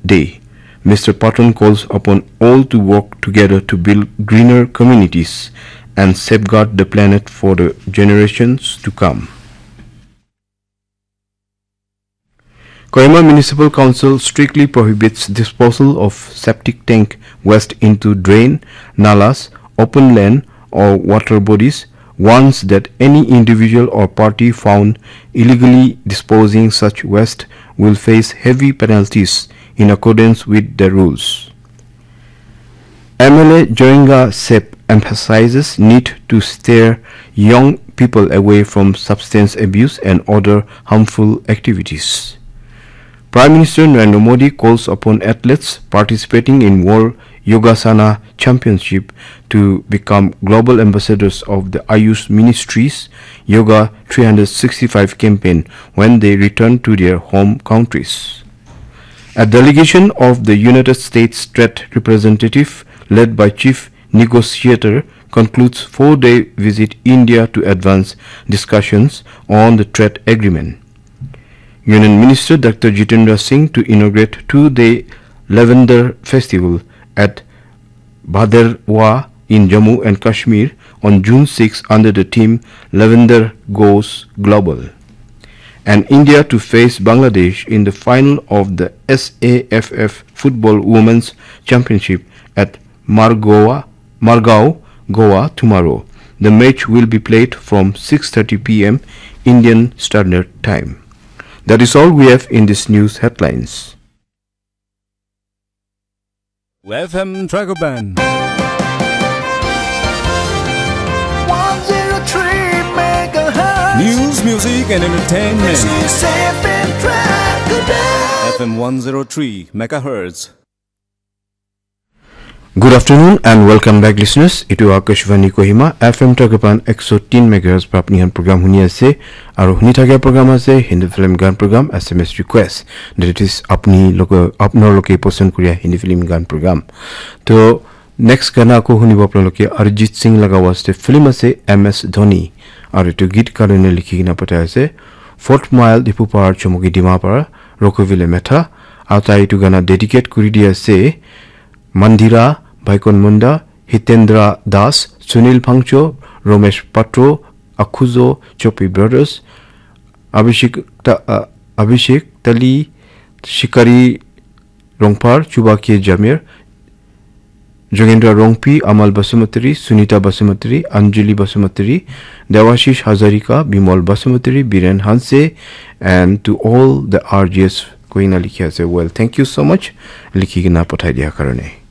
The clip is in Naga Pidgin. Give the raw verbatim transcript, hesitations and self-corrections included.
Day. Mister Patton calls upon all to work together to build greener communities and safeguard the planet for the generations to come. Kohima Municipal Council strictly prohibits disposal of septic tank waste into drain, nalas, open land, or water bodies, warns that any individual or party found illegally disposing such waste will face heavy penalties in accordance with the rules. M L A Joinga Sep emphasizes need to steer young people away from substance abuse and other harmful activities. Prime Minister Narendra Modi calls upon athletes participating in World Yogasana Championship to become global ambassadors of the Ayush Ministry's Yoga three hundred sixty-five campaign when they return to their home countries. A delegation of the United States trade representative led by Chief Negotiator concludes four-day visit India to advance discussions on the trade agreement. Union Minister Doctor Jitendra Singh to inaugurate two-day Lavender Festival at Bhaderwa in Jammu and Kashmir on June six under the theme Lavender Goes Global. And India to face Bangladesh in the final of the SAFF Football Women's Championship at Margoa, Margao, Goa tomorrow. The match will be played from six thirty p m Indian Standard Time. That is all we have in this news headlines. F M Dragoban. One zero three megahertz. News, music, and entertainment. This is F M Dragoban. F M one zero three megahertz. Good afternoon and welcome back, listeners. Itu Akashvani Kohima, F M Dragoban ekso tin megahertz pra apni khan program huni ase. Aru huni thakia program ase Hindi film gan program, S M S request. That is apni loke, apnar loke pasand kuriya Hindi film gan program. To next gana ako hunibo apnaloke Arijit Singh laga waste film ase M S Dhoni. Aru itu git karone likhi kena pathai ase Fort Mile Diphu Pahar Chumuki Dimapur Rokovile Metha. Aru tai itu gana dedicate kuri di ase Mandira Baikon Munda, Hitendra Das, Sunil Phangcho, Romesh Patro, Akhuzo, Chopi Brothers, Abhishek, Ta, uh, Abhishek Tali, Shikari Rongphar, Chuba K Jamir, Jogendra Rongpi, Amal Basumatary, Sunita Basumatary, Anjali Basumatary, Devashish Hazarika, Bimol Basumatary, Biren Hanse, and to all the R J S koina likhi ase. Well, thank you so much. Likhi kena pathai dia karone.